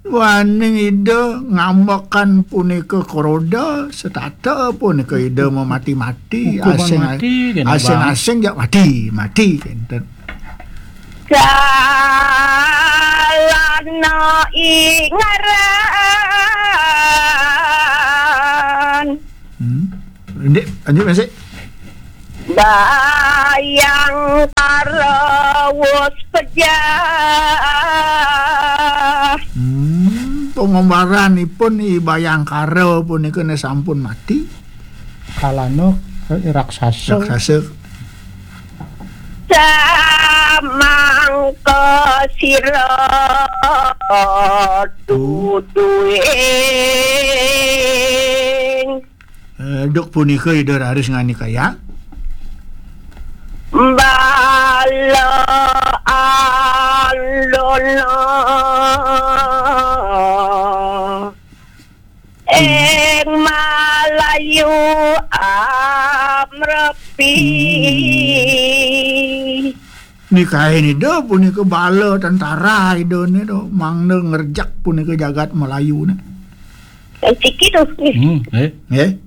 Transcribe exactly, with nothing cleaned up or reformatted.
Waning Ida ngambekan punika kroda, setata punika Ida mamati-mati, hukuman asing, mati, kena, asing-asing jak mati, mati, kenten. Salana ingaran. Hmm. Indik, lanjut masih. Bayangkara wus pejah. Hmm, pengombaranipun I Bayangkara punika ne sampun mati. Kalana, eh, raksasa. Raksasa. Samangka sira duduing. Eh, duk punika Ida raris nganikayang. Bala alona ing Malayu amrepi. Nikahin Ida punika bala tentara Ida ne to, mangda ngerjak punika jagat Melayu ne. Siki to. Hmm, eh. Nggih.